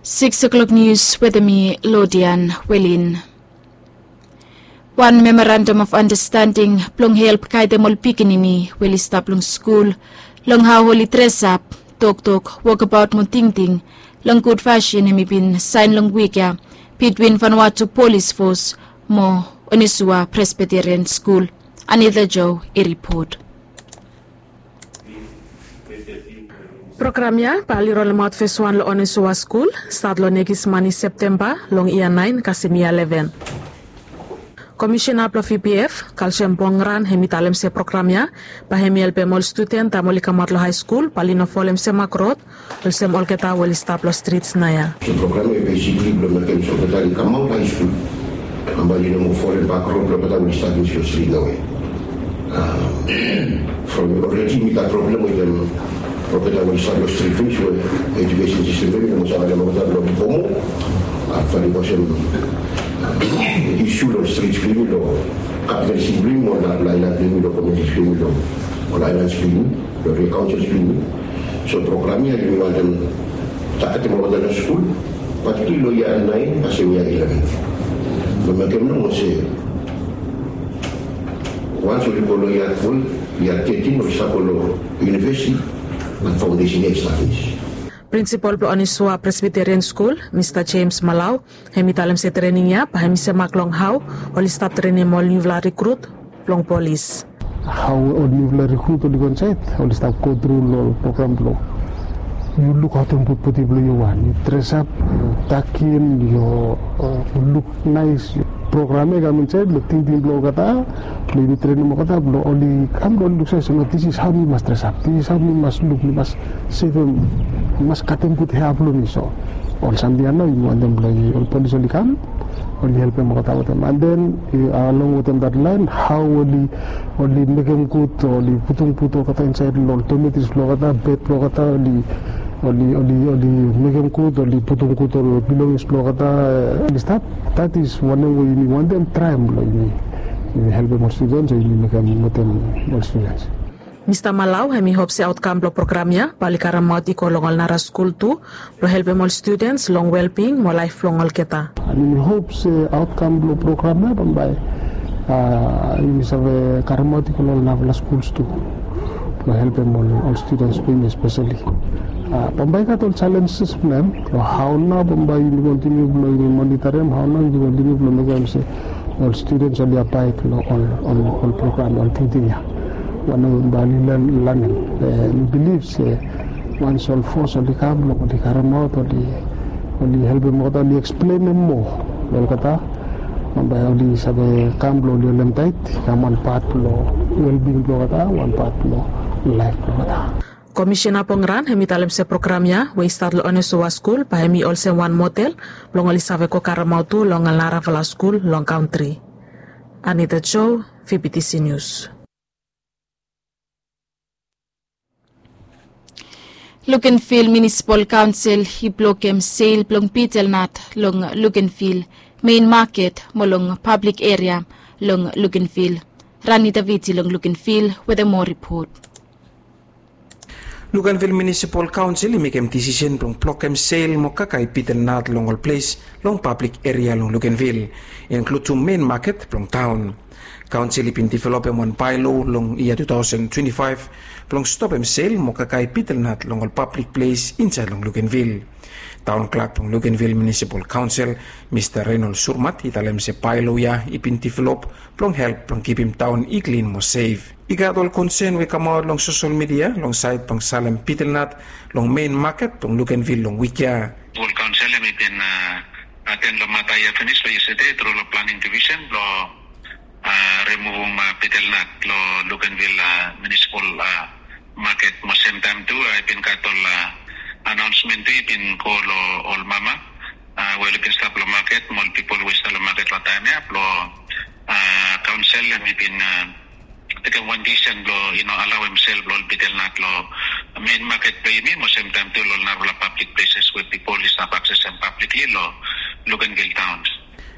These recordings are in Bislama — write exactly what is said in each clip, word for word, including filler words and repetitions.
Six o'clock news wetem mi, Lodian Welin. Wan memorandum of understanding blong help gaedem ol pikinini we oli stap long skul long hao oli dresap, toktok, wokabaot mo tingting long gud fasin, hemi bin saen long wik ya bitwin Vanuatu Polis Fos mo Onesua Presbyterian Skul. Anita Joe i ripot. Program ya bae oli rolemaot feswan long Onesua Skul stat long nekis mani Septemba long yia naen kasem yia leven. Komisena blong V P F, Kalsiam Pongran, hemi talem se program ya bae hemi helpem ol studen taem oli kamaot long haeskul bae oli no folem semak rod olsem olgeta we oli stap long strits naoia. So program ya bae besikli blong mekem se olgeta oli kamaot haeskul, bambae oli no moa folem bak rod blong olgeta we oli stap long strit naoia. From olredi mi gat problem wetem olgeta we oli stap long strit finis we ejukesen sistem blong yumi i no moa save helpem olgeta blong oli go moa. Aktuali olsem isu long strit blong yumi, long kapital siti blong yumi, ol aelan blong yumi, long komiuniti blong yumi, long ol aelan blong yumi, long area kaonsils blong yumi. So program ya yumi wantem tagetem olgeta long skul, patikula long yia naen kasem yia leven. Blong mekem nomo se wans oli go long yia twelve, yia thirteen oli stap go long univesiti, bat faondesen ya i stap finis. Prinsipol blong Onesua Presbyterian Skul, Mista James Malau, hemi talem se trening ya bae hemi semak long hao oli stap trenem ol niufala rikrut blong polis. Hao ol niufala rikrut oli go insaed, oli stap gotru long ol program blong yu lukaotem bodi blong yu, wan yu dresap, yu takin, yu luk naes. Program ya i kam insaed long tingting blong olgeta, blong yumi trenem olgeta blong oli kam blong oli luksave se no, this is how mi mas dresap, this is how mi mas luk, mi mas sevem, mi mas katem gud hea blong mi. So ol samting ya nao yumi wantem blong ol polis oli kam oli helpem olgeta wetem. And then along wetem that line, hao oli, oli mekem gud, oli putum gud olgeta insaed long ol dormitories blong olgeta, bed blong olgeta, oli, oli, oli, oli mekem gud, oli putum gud ol belongings blong olgeta, oli stap. That is wanem we yumi wantem traem blong yumi, yumi helpem ol studens, o yumi mekem wetem ol studens. Mista Malau hemi hop se aotkam blong program ya bae oli karemaot i go long ol nara skul tu blong helpem ol studens long welbing mo laef blong olgeta. And yumi hop se aotkam blong program ya bambae yumi save karemaot i go long ol narafala skuls tu blong helpem ol, ol studens blong yumi espeseli. Bambae i gat ol jalenjes blong hem, long hao nao bambae yumi kontiniu blong yumi monitarim, hao nao yumi kontiniu blong mekem se ol studens oli abaed long ol, ol, ol program, ol tingting ya. Wanem bae oli lanem. Mi bilif se wans ol fos oli kam blong oli karemaot, oli, oli helpem olgeta, oli eksplenem moa long olgeta, bambae oli save kam blong oli holem taet, i kam wan pat blong welbing blong olgeta, wan pat blong laef blong olgeta. Komisena Pongran hemi talem se program ya we i stat long Onesua Skul bae hemi olsem wan model blong oli save go karemaot tu long ol narafala skul long kantri. Anita Joe, V B T C News. Lukenvil Munisipal Kaonsel i blokem sel blong bitel nat long Lukenvil mein maket mo long pablik eria long Lukenvil. Rani Daviti long Lukenvil wetem moa ripot. Lukenvil Munisipal Kaonsel i mekem disisen blong blokem sel mo kakae bitel nat long ol ples long pablik eria long Lukenvil, inkludim mein maket blong taon. Kaonsel i bin developem wan baelo long yia tu taosen twenti faef blong stopem sel mo kakae bitel nat long ol pablik ples insaed long Lukenvil. Taon klak blong Lukenvil Munisipal Kaonsel, Mista Renold Surmat, i talem se baelo ya i bin develop blong help blong kipim taon i klin mo sef. I gat ol konsen we i kamaot long sosel midia long saed blong salem bitel nat long mein maket blong Lukenvil long wik ya. Ol kaonsel hemi bin aten long mata ya finis long yestede tru long Planing Divisen blong rimuvum bitel nat long Lukenvil Munisipal Maket, mo semtaem tu i bin gat ol anaonsmen tu i bin go long ol mama we oli bin stap long maket mo ol pipol we i stap long maket long taem ya blong kaonsel hemi bin tekem wan disisen blong i no alaoem sel blong ol bitel nat long mein maket blong yumi mo semtaem tu long ol narafala pablik pleses we pipol i stap aksesem pablikli long Lukenvil taon.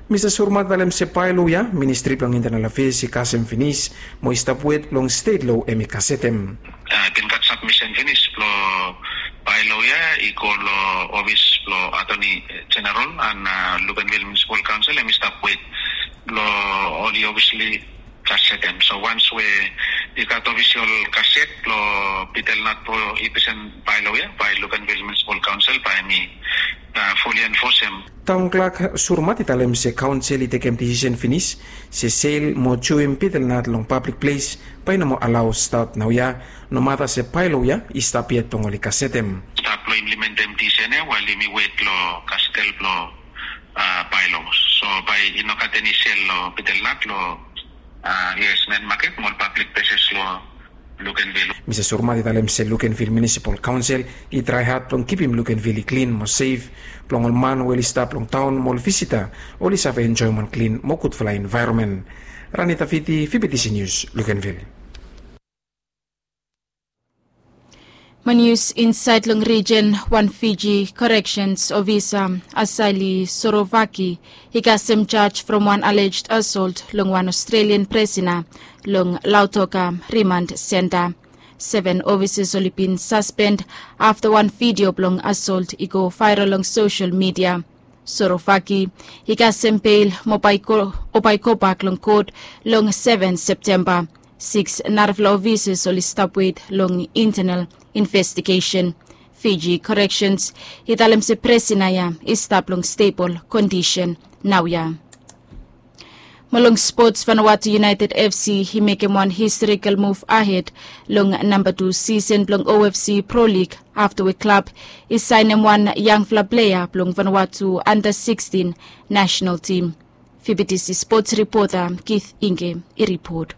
Mista Surmat i talem se baelo ya Ministri blong Intanel Afeas i kasem finis mo i stap wet blong stet loa hemi gasetem. I bin gat sabmisen finis blong baelo ya i go long ofis blong Attorney General and Luganville Municipal Council, em i stap wet blong oli obviously kasetem. So once we i gat official kaset blong Peter Nat blong i presen bylaw ya by Luganville Municipal Council, by mi fully enforce em. Taon klak Surmat i talem se kaonsel i tekem disisen finis se sel mo juem Peter Nat long pablik ples bai i no mo alao stat naoia, nomata se bylaw ya i stap yet blong oli kasetem. Stap long implementem disisen ya while yumi wet long kasetel blong bylaw. So bai i no gat eni sel long Peter Nat long yes, men maket mo ol pablik pleses long Luganville. Mista Surmat i talem se Luganville Municipal Council i trae had blong kipim Luganville i klin mo sef blong ol man we oli stap long taon mo ol visita oli save enjoem wan klin mo gudfala envaeronmen. Ranita Fiti, V B T C News, Luganville. Mo nius insaed long rijen, wan Fiji korekshens ofisa, Asali Sorovaki, i kasem jaj from wan alleged assault long wan Australian prisona long Lautoka Remand Center. Seven ofisas oli bin saspend afta wan vidio blong assault i go vaeral long sosel midia. Sorovaki i kasem beil mo bai i go, o bai i gobak long kot long seven Septemba. Siks narafala ofisas oli stap wet long internal investigesen. Fiji Corrections i talem se prisona ya i stap long stebol kondisen naoia. Mo long spots, Vanuatu United F C i mekem wan historikal muv ahed long namba tu sisen blong O F C Pro League afta we klab i saenem wan yangfala plea blong Vanuatu anda sikstin nasenal tim. V B T C spots ripota Keith Inge i ripot.